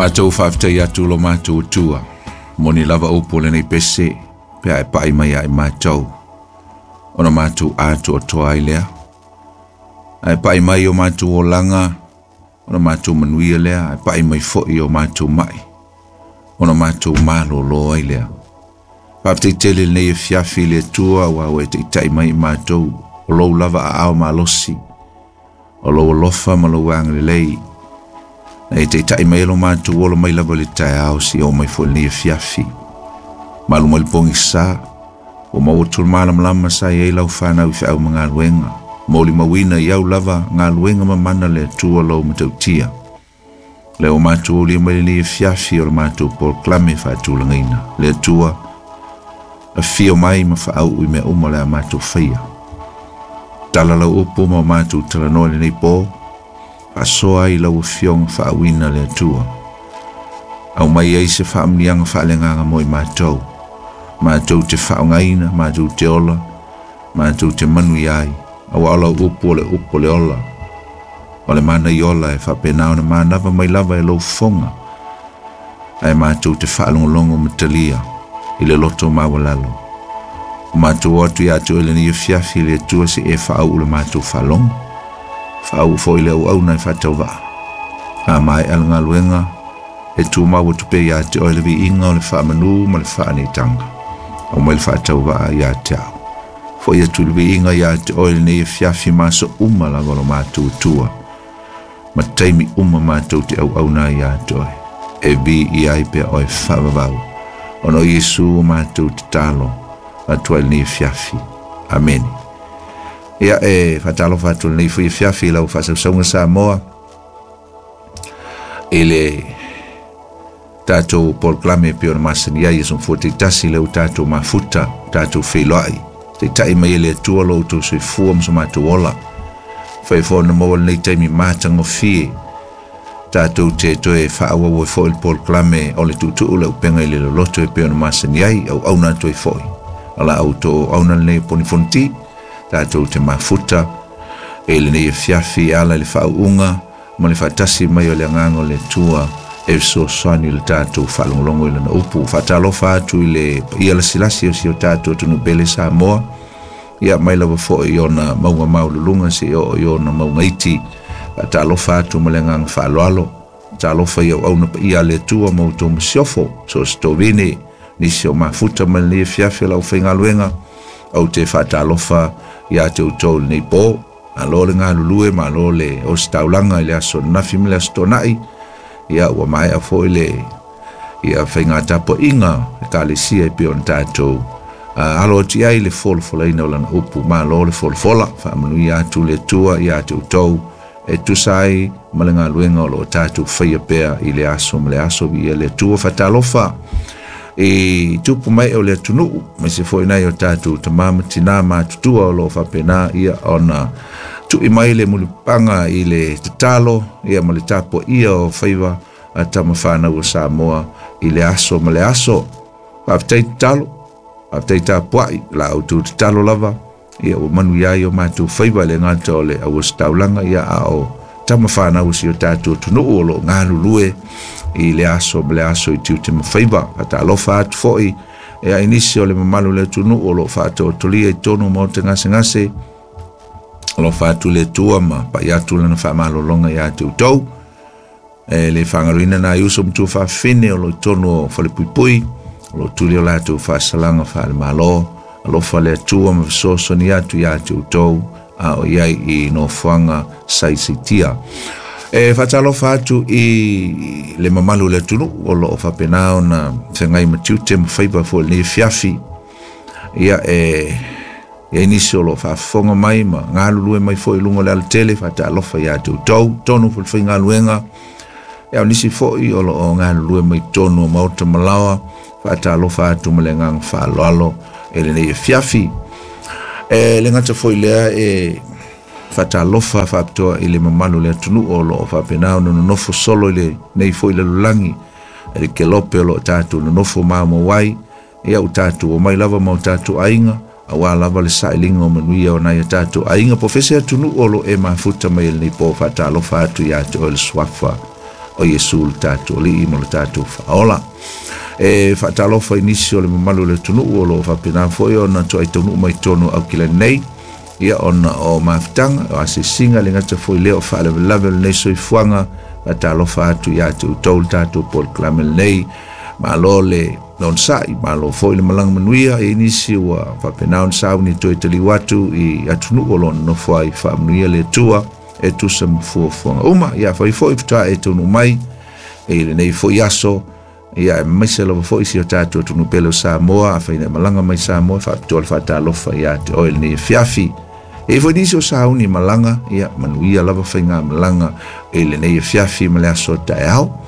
Matou faafetai atu lo matou Atua, moni lava upu o lenei pese, pe a e pa'i mai ia i matou, ona matou atoatoa ai lea. Ae pa'i mai o matou olaga, ona matou manuia lea, ae pa'i mai fo'i o matou ma'i, ona matou malōlō ai lea. Faafetai tele lenei afiafi i le Atua ua ua e taita'i mai i matou, o lou lava aao malosi, o lou alofa ma lou agalelei, na e taita'i mai ai lo matou ola mai lava i le taeao seia oo mai foi i lenei afiafi. Malu mai le pogisa, ua maua atu le malamalama sa i ai lau fanau i feau ma galuega, molimauina i au lava galuega mamana a le Atua lou matautia. Lea ua matou aulia mai lenei afiafi o le matou polokalame faatulagaina. Le Atua, afio mai ma faauu i mea uma o le a matou faia. Tala lau upu ma o matou talanoa i lenei po, faasoa ai lau afioga faauuina le Atua. Aumai ai se faamanuiaga faaleagaga mo i matou, matou te faaaogaina, matou te ola, matou te manuia ai, auā o lau upu o le upu o le ola, o le manaiola e faapena ona manava mai lava e lou fofoga, ae matou te faalogologo ma talia i le loto maualalo. O matou o atu ia te oe i lenei afiafi le Atua se i e faauu le matou faalogo, faauu foi le auauna e faatauvaa. A maea le galuega, e tumau atu pea ia te oe le viiga o le faamanu ma le faaneetaga. Aumai le faatauvaa ia te au. Fo'i atu le viiga ia te oe lenei afiafi ma aso uma lava o lo matou Atua, ma taimi uma matou te auauna ai ia te oe, e viia ai pea oe faavavau, ona o Iesu o matou tatalo atu ai lenei afiafi. Amene. Ia, e faatalofa atu lenei foi afiafi i lau faasausauga Samoa i le tatou polokalame e pei ona masani ai aso Gafua taitasi, lea ua tatou mafuta, tatou feiloai, taitai mai e le Atua lo outou soifua ma so matou ola. Fai foi ona maua lenei taimi matagofie tatou te toe faaauau ai foi le polokalame o le tuutuu le upega i le loloto e pei ona masani ai, auauna atu ai foi. O la outou auauna lenei o Poni Fonoti, tatou te mafuta e lenei afiafi e ala i le faauuga ma le faatasi mai o le agaga o le Atua e fesoasoani i le tatou faalogologo i lana upu. Faatalofa atu i le paia lasilasi o si o tatou atunuu pele Samoa, ia mai lava foi i ona mauga maualuluga seia oo i ona mauga iti. Faatalofa atu ma le agaga faaaloalo. Talofa i auauna paia a le Atua ma outou masiofo, so o se tovine, nisi o mafuta mai lenei afiafi o le aufaigaluega. Ou te faatalofa ia te outou i lenei po. Malo le galulue, malo le ositaulaga i le aso ananafi ma le aso Toonai. Ia, ua maea foi le ia faiga tapuaiga Ekalesia e pei ona tatou alo atu i ai le folafolaina o lana upu. Malo le folafola, faamanuia atu le Atua ia te outou e tusa ai ma le galuega o lo o tatou faia pea i le aso ma le aso. Viia le Atua. Faatalofa i tupu mai o le atunuu, aemaise foi nai o tatou tama ma tinā matutua o lo o faapena ia ona tui mai le mulipapaga i le tatalo ia ma le tapuaia o faiva a tama fanau o Samoa i le aso ma le aso. Faafetai tatalo, faafetai tapuai, la outou tatalo lava ia ua manuia ai o matou faiva, e le gata o le auositaulaga ia a o tama fanau o si o tatou atunuu o lo o galulue i le aso ma le aso i tiute ma faiva. Faatalofa atu foi ia i nisi o le mamalu o le atunuu o lo o faatoatolia i totonu o maota gasegase. Alofa atu le Atua ma pai atu lana faamalologa ia te outou. E le faagaloina nai uso ma tuafafine o lo o i totonu o falepuipui, o lo o tuli o latou faasalaga faale-Malo. Alofa le Atua ma fesoasoani atu ia te outou a o i ai i nofoaga saisaitia. E faatalofa atu i le mamalu o le atunuu o lo o faapena ona feagai ma tiute ma faiva foi i lenei afiafi. Ia, e i ai nisi o lo o faafofoga mai ma galulue mai foi i luga o le alatele, faatalofa ia te outou, tonu foi le faigaluega. Ia, o nisi foi o lo o galulue mai totonu o maota ma laoa, faatalofa atu ma le agaga faaaloalo i lenei afiafi. E le gata foi lea, e faatalofa faapitoa i le mamalu o le atunuu o lo o faapena ona nonofo solo i lenei foi lalolagi, i le kelope o lo o tatou nonofo maumau ai. Ia, ua tatou omai lava ma o tatou aiga, auā lava le sailiga o manuia o nai a tatou aiga. Po o fea se atunuu o lo o e mafuta mai i lenei po, faatalofa atu ia te oe le suafa O Iesu le tatou Alii ma le tatou Faaola. E faatalofa i nisi o le mamalu o le atunuu o loo faapena foi ona toai taunuu mai totonu o Aukilani nei, ia ona o mafutaga, o asiasiga le gata foi lea o faalavelave o lenei soifuaga. Faatalofa atu ia te outou le tatou polokalame lenei. Malo le onosai, malo foi le malaga manuia e nisi ua faapena ona sauni toe taliu atu i atunuu o lo o nonofo ai. Faamanuia le Atua e tusa ma fuafuaga uma. Ia fai foi faatoa e taunuu mai i lenei foi aso, ia aemaise lava foi si o tatou atunuu pele o Samoa. Afai na e malaga mai Samoa, faapitoa le faatalofa ia te oe lenei afiafi. E i foi nisi o sauni malaga, ia manuia lava faiga malaga i lenei afiafi ma le aso taeao.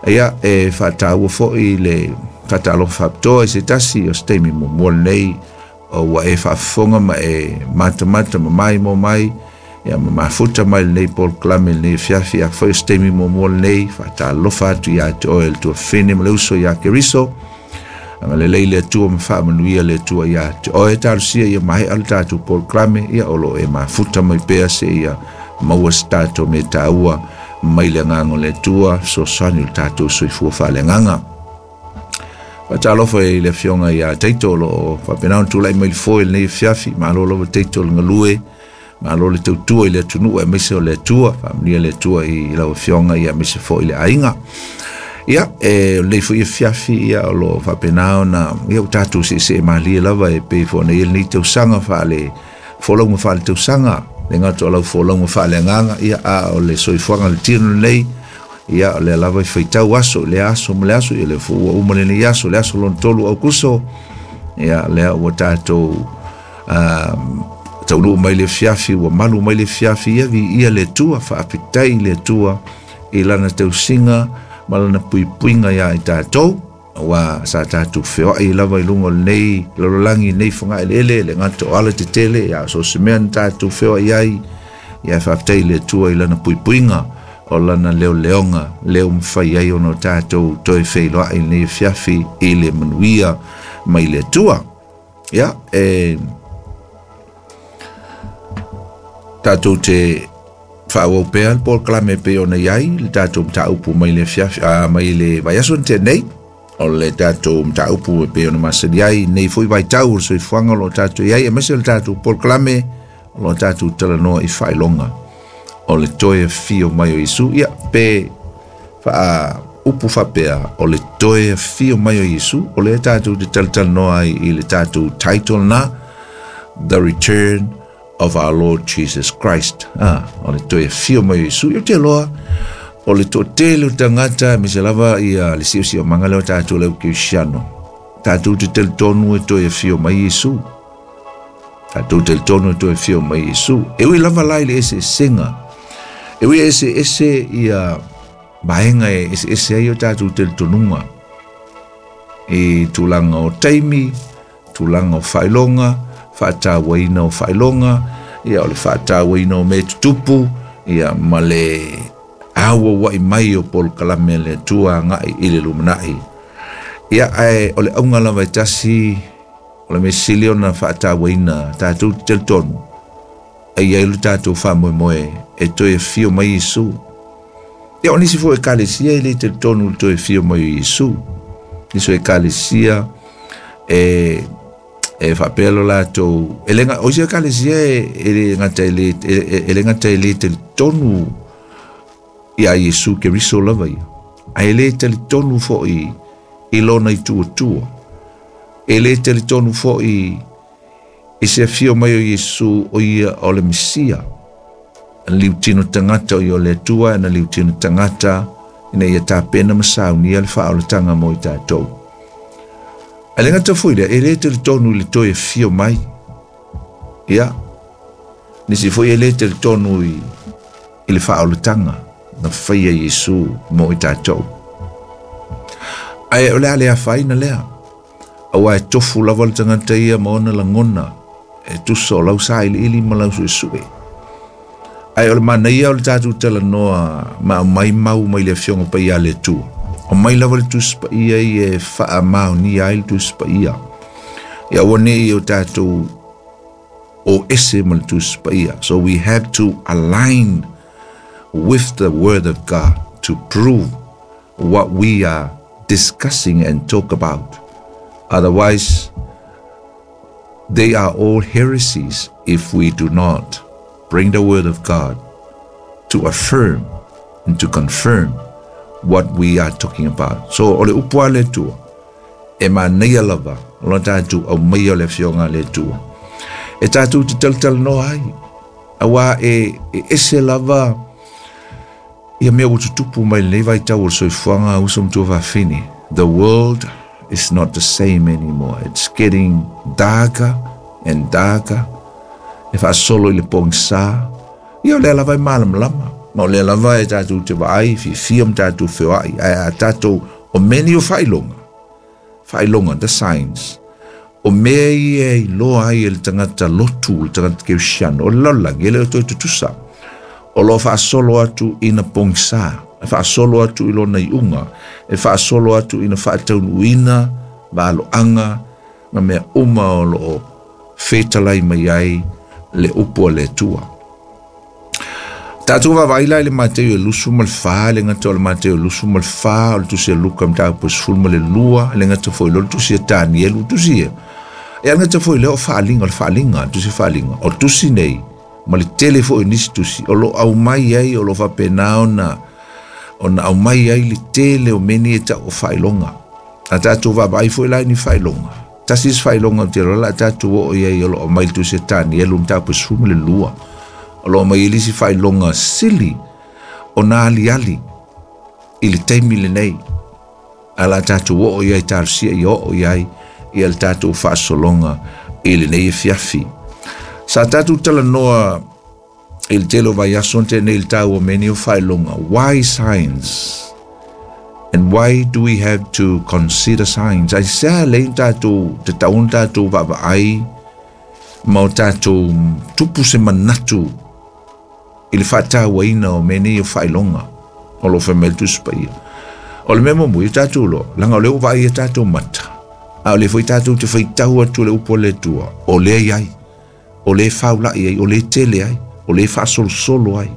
Ia e faataua foi le faatalofa faapitoa i se tasi o se taimi muamua lenei o ua e faafofoga ma e matamata ma maimoa mai, ia ma mafuta mai lenei polokalame lenei afiafi. Afai o se taimi muamua lenei, faatalofa atu ia te oe le tuafafine ma le uso ia Keriso. Agalelei le Atua ma faamanuia le Atua ia te oe. Talosia ia maea le tatou polokalame, ia o loo e mafuta mai pea se ia maua se tatou mea taua mai le agaga o le Atua, fesoasoani o le tatou soifua faaleagaga. Faatalofa i le afioga ia Taito o loo faapena ona tulai mai le foe lenei afiafi. Malo lava Taito le galue, malo le tautua i le atunuu aemaise o le Atua. Faamanuia le Atua i lau afioga ia aemaise foi le aiga. Ia, e o lenei foi afiafi, ia o loo faapena ona ia ua tatou seesee malie lava e pei foi ona i ai lenei tausaga faale folauga faale tausaga, le gata o lau folauga faaleagaga, ia a o le soifuaga le tino lenei, ia o lea lava e faitau aso i lea aso ma le aso, ia lea foi ua uma lenei aso, le aso lona 3 o Aukuso, ia lea ua tatou taunuu mai le afiafi, ua malu mai le afiafi, ia viia le Atua, faafetai i le Atua i lana tausiga ma lana puipuiga ia i tatou, aua sa tatou feoai lava i luga o lenei lalolagi, lenei fagaeleele, le gata o ala tetele, ia so o se mea na tatou feoai ai, ia faafetai i le Atua i lana puipuiga, o lana leoleoga, lea ua mafai ai ona o tatou toe feiloai lenei afiafi i le manuia mai le Atua. Ia, e tatou te faaauau pea le polokalame e pei ona i ai le tatou mataupu mai le afiafi, mai le vaiaso na tea nei, o le tatou mataupu e pei ona masani ai nei foi vaitau o le soifuaga o loo tatou i ai, aemaise o le tatou polokalame o loo tatou talanoa i faailoga o le toe afio mai o Iesu. Ia, pe faa upu faapea o le toe afio mai o Iesu, o lea tatou te talatalanoa ai i le tatou title na, The Return of Our Lord Jesus Christ. O le toe afio mai o Iesu. Ia te loa, o le toatele o tagata, aemaise lava ia le siosiomaga lea o tatou le aukerisiano, tatou te talitonu e toe afio mai Iesu. Tatou talitonu e toe afio mai Iesu. E ui lava la i le eseesega, e ui eseese ia vaega e eseese ai o tatou talitonuga i tulaga o taimi, tulaga o faailoga, faatauaina o faailoga, ia o le faatauaina o mea tutupu, ia ma le auauai mai o polokalame a le Atua agai i le lumanai. Ia, ae o le auga lava e tasi, o le mea sili ona faatauaina tatou te talitonu, e i ai lo tatou faamoemoe e toe afio mai Iesu. Ia, o nisi foi ekalesia e le talitonu i le toe afio mai o Iesu. Nisi o ekalesia e faapea lo latou, e le o isi ekalesia e le gata e le e le gata e le talitonu ia Iesu Keriso lava ia, ae le talitonu foi i lona ituatua. E le talitonu foi i se afio mai o Iesu o ia o le Mesia. Na liutino tagata o ia o le Atua, na liutino tagata ina ia tapena ma saunia le faaolataga mo i tatou. Ae le gata foi lea, e le talitonu i le toe afio mai. Ia, nisi foi e le talitonu i le faaolataga na faia Iesu mo i tatou. Ae o le a le afaina lea, aua e tofu lava le tagata ia ma ona lagona e tusa o lau sailiili ma lau suesue. Ae o le manaia o le tatou talanoa ma aumai mau mai le afioga paia a le Atua. O mai lava le Tusi Paia ia e faamaonia ai le Tusi Paia. Ia aua ne i o tatou o ese ma le Tusi Paia. So we have to align with the word of God to prove what we are discussing and talk about. Otherwise, they are all heresies if we do not bring the Word of God to affirm and to confirm what we are talking about. So, o le upu a le Atua, e manaia lava, o lo tatou aumaia o le afioga a le Atua. E tatou te talatalanoa ai, auā e ese lava ia mea ua tutupu mai lenei vaitau o le soifuaga a uso ma tuafafine. The world is not the same anymore. It's getting darker and darker. E faasolo i le pogisa. Ia o lea lava e malamalama. Ma o lea lava e tatou te vaai, fiafia ma tatou feoai. Ae a tatou, o mea nei o faailoga, faailoga, the signs, o mea ia e iloa ai e le tagata lotu, le tagata kerisiano, o le lalolagi, e le o toe tutusa. O lo o faasolo atu ina pogisa, e faasolo atu i lona iuga, e faasolo atu ina faataunuuina valoaga ma mea uma o lo o fetalai mai ai le upu a le Atua. Tatou vaavaai la i le Mateo e 24, le gata o le Mateo e 24, o le tusi a Luka mataupu e 12, le gata foi lea o le tusi a Tanielu, tusi ia. E gata foi lea o faaaliga, o le faaaliga, le tusi faaaliga. O tusi nei, ma le tele foi o nisi tusi, o lo o aumai ai, o lo o faapena ona, ona aumai ai le tele o mea nei e tau o faailoga. A tatou vaavaai foi la i ni faailoga, tasi isi faailoga ou te iloa o le a tatou oo i ai o lo o aumai i le tusi a Tanielu mataupu e 12, o lo o aumai ai le isi faailoga sili ona aliali i le taimi lenei. A o le a tatou oo i ai, talosia ia oo i ai ia le tatou faasologa i lenei afiafi. Sa tatou talanoa i le tele o vaiaso na tea nei i le taua o mea nei o faailoga. Why signs? And why do we have to consider signs? Aisea lea na tatou tatau ona tatou vaavaai ma o tatou tupu se manatu i le faatauaina o mea nei o faailoga o lo o fai mai le Tusi Paia. O le mea muamua, ia tatou iloa, leaga o lea ua vaai i a tatou mata, a o lea foi tatou te faitau atu i le upu a le Atua, o lea e i ai, o lea e faulai ai, o lea e tele ai, o lea e faasolosolo ai.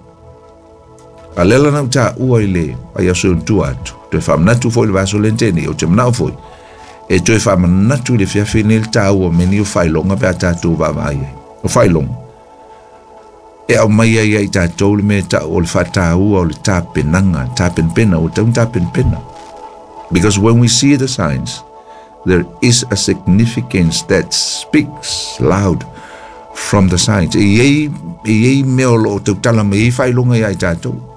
A lea la na ou taua i le vaiaso e ona tua atu, toe faamanatu foi i le vaiaso lea na tea nei, ou te manao foi e toe faamanatu i le afiafi lenei le taua o mea nei o faailoga pe a tatou vaavaai ai. O faailoga, e aumai ai ia i tatou le mea e tau o le faataua o le tapenaga, tapenapena, ua tatau ona tapenapena. Because when we see the signs, there is a significance that speaks loud from the signs. E i ai, e i ai mea o lo o tautala mai ai faailoga ia i tatou.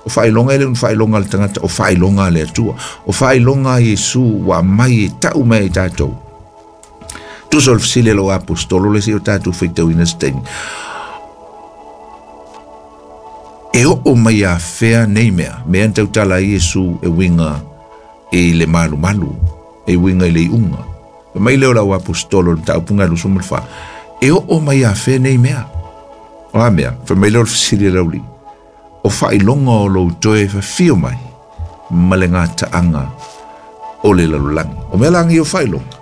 O faailoga e le o ni faailoga a le tagata, o faailoga a le Atua. O faailoga a Iesu ua aumai e tau mai ia i tatou. Tusa o le fesili a lou aposetolo lea seia o tatou faitauina se taimi. E oo mai afea nei mea, mea na tautala ai Iesu e uiga i le malumalu, e uiga i le iuga. Fai mai lea o lau aposetolo i le mataupu 24, e oo mai afea nei mea. O a mea? Fai mai lea o le fesili a le aualii, o faailoga o lou toe fafio mai ma le gataaga o le lalolagi. O mea la nei o faailoga,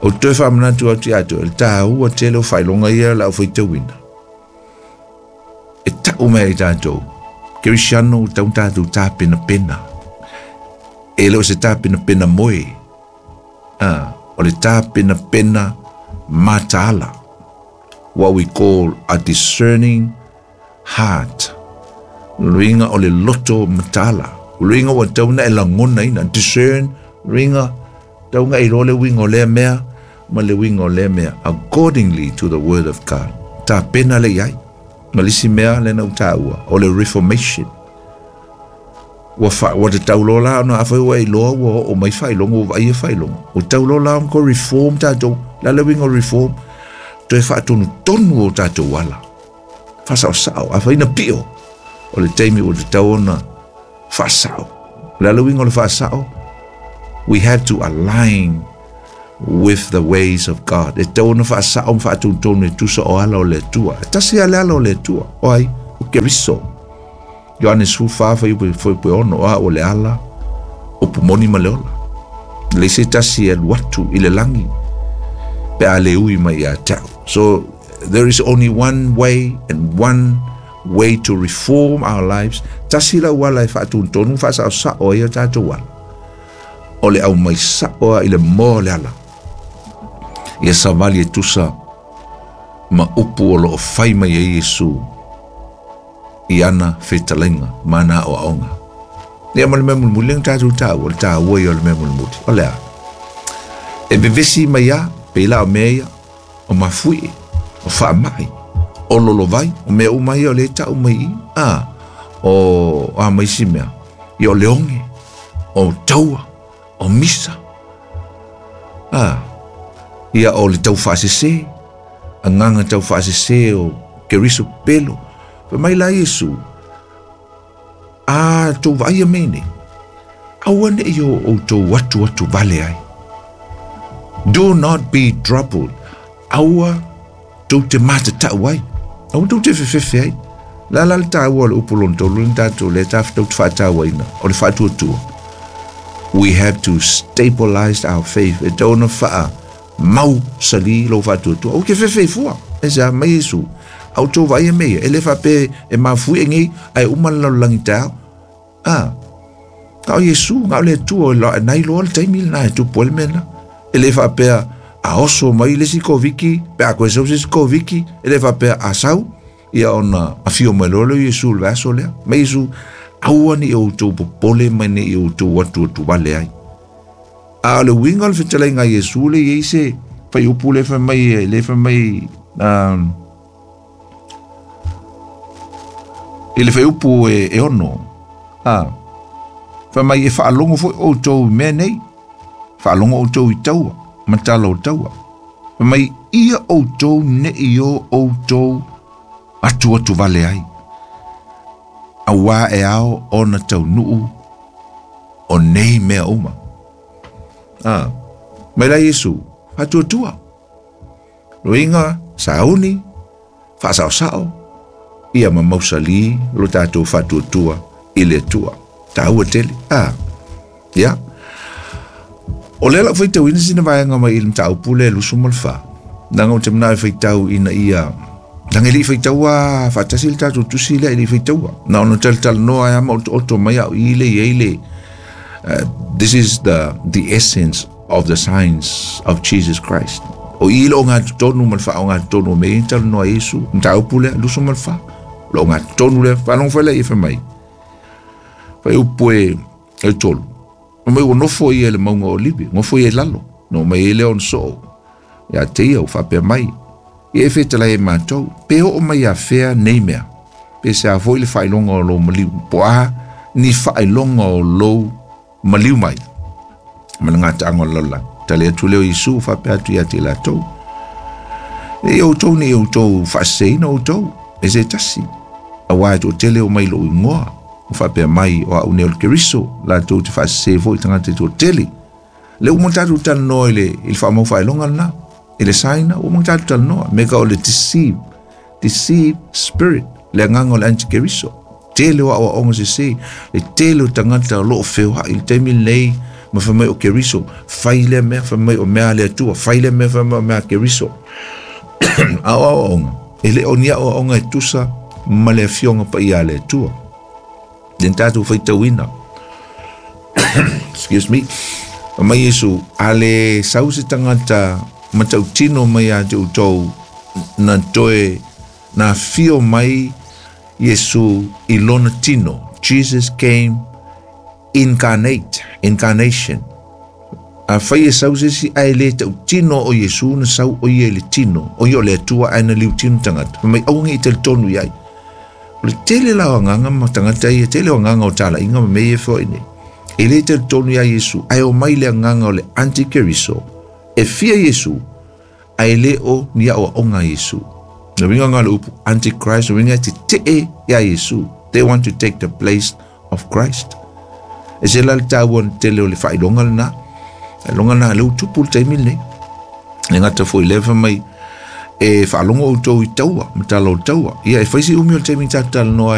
ou te toe faamanatu atu ia te oe, le taua tele o faailoga ia o le a ou faitauina. E tau mai ai tatou, Kerisiano, ua tatau ona tatou tapenapena. E le o se tapenapena moe, a, o le tapenapena mataala. What we call a discerning heart. Luiga o le loto mataala. O luiga ua tatau ona e lagonaina, discern, luiga, tatau ona e iloa le uiga o lea mea ma le uiga o lea mea, accordingly to the word of God. Tapena lea i ai. Ma le isi mea lea na ou taua, o le reformation. Ua fa, ua tatau loa la ona afai ua e iloa ua oo mai faailoga, ua vaaia faailoga. Ua tatau loa la ona toe reform tatou. O le a le uiga o le reform? Toe faatonutonu o tatou ala. Faasaosao. Afai na pio, o le taimi ua tatau ona faasao. O le a le uiga o le faasao? We have to align with the ways of God. E tatau ona faasao ma faatonutonu e tusa o ala o le Atua. E tasi lava le ala o le Atua. O ai? O Keriso. Ioane 14 fuaiupu 6, o au o le ala, upu moni ma le ola. E leai se tasi e alu atu i le lagi pe a le ui mai ia te au. So, there is only one way and one way to reform our lives. Tasi le auala e faatonutonu faasaosao ai o tatou ala, o le aumai sao lava i le moa o le ala. Ia savali e tusa ma upu o loo fai mai ai Iesu i ana fetalaiga ma ana aoaoga. Ia ma le mea mulimuli lea na tatou taua, o le taua ia o le mea mulimuli. O le a? E vevesi mai lava, pei la o mea ia, o mafuie, o faamai, o lolovai, o mea uma ia o lea e tau mai i i, a, o a ma isi mea, ia o le oge, o taua, o misa, a, ia o le taufaasese, agaga taufaasese o Keriso pelo. Fai mai la Iesu, a tou vaaia mea nei, aua ne'i o outou atuatu vale ai. Do not be troubled. Aua tou te matatau ai. Aua tou te fefefe ai. La la le taua o le upu lona tolu lena tatou lea tou te faatauaina, o le faatuatua. We have to stabilize our faith. E tatau ona faa mau sali lou faatuatua. Aua ke fefe fua. E se a mai Iesu. A outou vaaia mea ia, e le faapea e mafuie nei ae uma le lalolagi taeao. A, na o Iesu, na o le Atua, na iloa le taimi lena e tupu ai le mea lena. E le faapea a oso mai le isi Koviki, pe a koe sau se isi Koviki, e le faapea a sau, ia ona afio mai loa lea o Iesu i le vaiaso lea. Mai Iesu, aua ne i outou popole ma ne i outou atuatu vale ai. A o le uiga o le fetalaiga a Iesu lea e i ai se fuaiupu lea e fai mai, lea e fai mai, i le fuaiupu e 6, a, fai mai e faalogo foi outou i mea nei, faalogo outou i taua, ma tala o taua. Fai mai, ia outou ne i o outou atuatu vale ai, auā e ao ona taunuu o nei mea uma. A, mai la Iesu, faatuatua. Loiga, sauni, faasaosao, ia ma mausali lo tatou faatuatua i le Atua. Taua tele. A, ia. O lea lau faitauina sina vaega mai i le mataupu lea 24. Leaga ou te manao e faitau ina ia, leaga e le i faitaua faatasi le tatou tusi lea, e le i faitaua. Na ona talatalanoa ai lava ma otooto mai au i le i ai le, this is the essence of the signs of Jesus Christ. O i le ogatotonu ma le faaogatotonu o mea ia na talanoa ai Iesu, mataupu lea, 24. O le ogatotonu lea, faalogo foi lea i fai mai. Fuaiupu e 3. Fai mai ua nofo ia i le mauga o Olivi, nofo ia i lalo, na omai ai lea ona soo ia te ia ua faapea mai, ia e fetalai e matou, pe oo mai ia fea nei mea, pe se a foi le faailoga o lou maliu, po o a ni faailoga o lou maliu mai, ma le gataaga o le lalolagi. Tali atu lea o Iesu faapea atu ia te i latou, ne i outou ne i outou faaseseina outou e se tasi, auā e toatele o mai i lou igoa, o faapea mai o au nei o le Keriso, latou te faasese foi i tagata e toatele. Le uma ona tatou talanoa i le, i le faamau faailoga lena, i le sign, ua uma ona tatou talanoa, me ka o le deceive, deceive spirit, le agaga o le antikeriso. Tele o aoaoga sese, le tele o tagata o lo o feoai i le taimi lenei, ma fai mai o Keriso, fai lea mea, fai mai o mea a le Atua, fai lea mea, fai mai o mea a Keriso. A o aoaoga, e le o ni aoaoga e tusa ma le afioga paia a le Atua. Le tatou faitauina. Excuse me. Fai mai Iesu, a le sau se tagata matautino mai ia te outou, na toe na afio mai Iesu i lona tino. Jesus came incarnate, incarnation. Afai e sau se isi ae le tautino o Iesu na sau o ia i le tino, o ia o le Atua ae na liutino tagata. Fai mai aua ne i talitonu i ai. O le tele la o agaga ma tagata ia, tele o agaga o talaiga ma mea ia e feoai nei. E le talitonu ia Iesu, ae omai le agaga o le antikeriso, e fia Iesu, ae le o ni aoaoga a Iesu. Le uiga lena o le upu antichrist, le uiga e tetee ia Iesu. They want to take the place of Christ. E se la le taua tele o le faailoga lena. Faailoga lena lea ua tupu i le taimi lenei. E gata foi i lea fai mai e faalogo outou i taua, ma tala o taua. Ia e fai si umi o le taimi tatou talanoa.